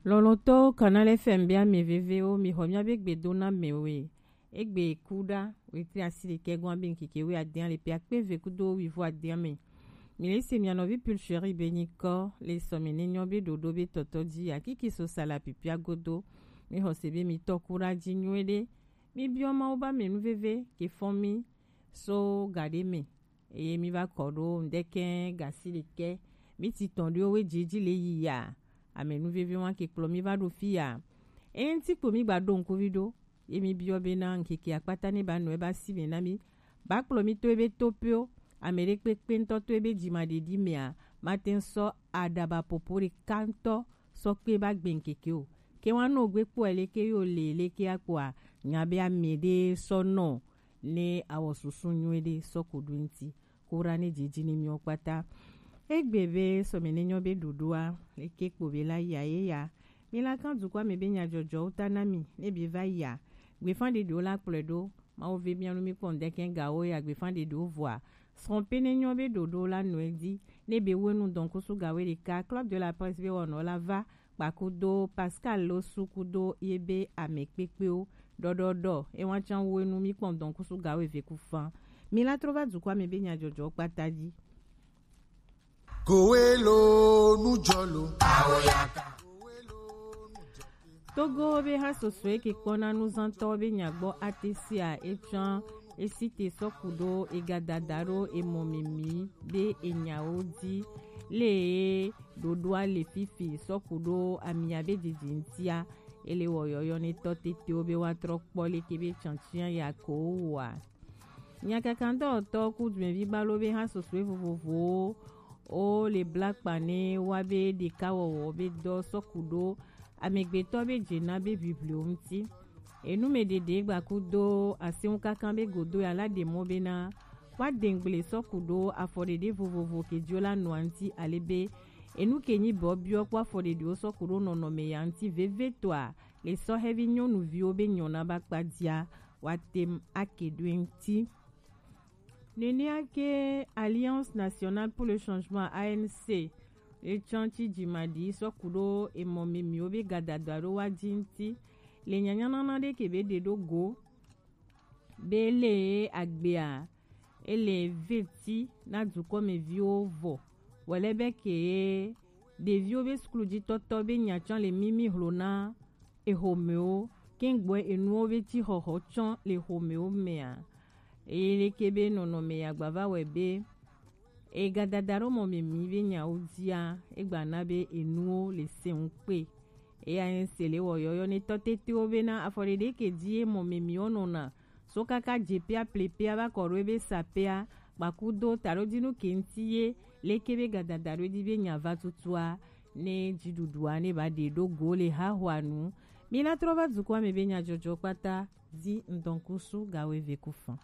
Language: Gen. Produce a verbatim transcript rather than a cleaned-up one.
Lɔlɔ̃tɔwo, Canal F M be ame vevewo, mixɔ míabe gbedonamewoe. Egbe ku ɖa, wetri asiɖekɛ gɔn abe ŋkeke wuiade le ƒe akpe eve kudo wuivo ade me. Mi le se mia nɔvi Pulchérie be nyikɔ le sɔmi ne nyɔ be ɖoɖo be tɔtɔ ji akiki so sala pipia godo. Mi xɔ se be mi tɔ ku ɖa ji nyuie ɖe. Mi biɔ Mawu ba me nu veve ke fɔn mi so gaɖe me. Eye mi va kɔ ɖo ŋdɛkɛ gasi ɖekɛ. Mi ti tɔn ɖo we ji ji le yi ya. Ame nu veve wa ke kplɔ mi va ɖo fi ya. Eye ŋti kpo mi gba ɖo ŋkuvi ɖo. Ye mi biɔ be na ŋkeke akpata ne ba nɔ e ba si me na mi. Ba kplɔ mi to ebe to pio. Ame ɖe kpekpe ŋtɔ to ebe jima ɖeɖi mea, ma te ŋ sɔ aɖaba popo ɖeka ŋtɔ sɔ kpe ba gbe ŋkeke o. Ke wa nɔ gbe kpɔ leke yo le leke akpɔa, nya be ame ɖe sɔ nɔ ne awɔ susu nyuie ɖe sɔ ko ɖo ŋti. Ko ɖa ne dzidzi ne miwo kpata. Egbe be sɔme ne nyɔ be ɖoɖoa, leke kpo be la ya ye ya. Mi la kan dukɔ ame be nyadzɔdzɔwo ta na mi, ne be va ya. Gbefan ɖeɖewo la kplɔe ɖo, Mawu ve mia nu mi kpɔ ŋdɛkɛ gawo ya gbefan ɖeɖewo vɔa. Srɔ̃ pe ne nyɔ be ɖoɖo la nɔ edi, ne be wenu dɔnkusu gawo ɖeka, Club de la Presse be wɔnɔ la va, kpakudo Pascal Losu kudo ye be ame kpekpewo. Ɖɔɖɔɖɔ, ewa can wenu mi kpɔ dɔnkusu gawo eve ku fan. Mi la trɔ va dukɔ ame be nyadzɔdzɔ kpata ji. Kowe lo nujɔ lo. Togo be ha soso eke kpɔna nuzantɔ be nyagbɔ atesia etsɔn esite sɔku ɖo egadada ɖo emɔ mimi be enyawo di le ɖoɖoa le fifi sɔku ɖo amia be dzidzi ŋtia ele wɔ yɔyɔ ne tɔ tetewo be wa trɔ kpɔ leke be tsantsia ya ko wa. Nyakakantɔtɔ ku dumevi balo be ha sosoe vovovowo wo le bla kpa ne wa be ɖeka wɔwɔ be dɔ sɔku ɖo amegbetɔ be dze na be ʋiʋli wo ŋuti. Enu me ɖeɖe gba ku do aseŋu kaka be godo ya la ɖe mɔ be na wa dengble sɔku ɖo afɔ ɖeɖe vovovo ke dio la nɔa ŋuti ale be enu ke nyi bɔ biɔ kpɔ afɔ ɖeɖewo sɔku ɖo nɔnɔme ya ŋuti veve tɔa le sɔhɛvi nyɔnuviwo be nyɔna ba kpa dia wa tem ake ɖo ŋuti. Nenea ke Alliance Nationale pour le Changement, A N C, etsɔn tsi dzimaɖi sɔku ɖo emɔ mimiwo be gadada ɖo wa dzi ŋuti le nyanyanana ɖe ke be ɖe ɖo go be le agbea ele veti na dukɔmeviwo vɔ wòle be ke ɖeviwo be sukludzitɔtɔ be nyatsɔ le mimi hlo na exɔmewo, kɛŋgbɔɛ enuwo be tsi xɔxɔ tsɔ le xɔmewo mea. Eye leke be nɔnɔme ya gbava wɛ be egadada ɖo mɔ me mi be nyawo dzia, egba na be enuwo le se ŋu kpe. Eya nye se le wɔ yɔyɔ ne tɔ tetewo be na afɔ ɖeɖe ke dzi ye mɔ me mi wo nɔna so kaka dze pea ple pea va kɔ ɖo ebe sa pea kpakudo taɖodinu ke ŋti ye leke be gadada ɖo dzi be nya va tutua ne dziɖuɖua ne ba ɖe ɖo go le hahoa nu. Mi la trɔ va dukɔa me be nyadzɔdzɔ kpata di ŋdɔnkusu gawo eve ku fan.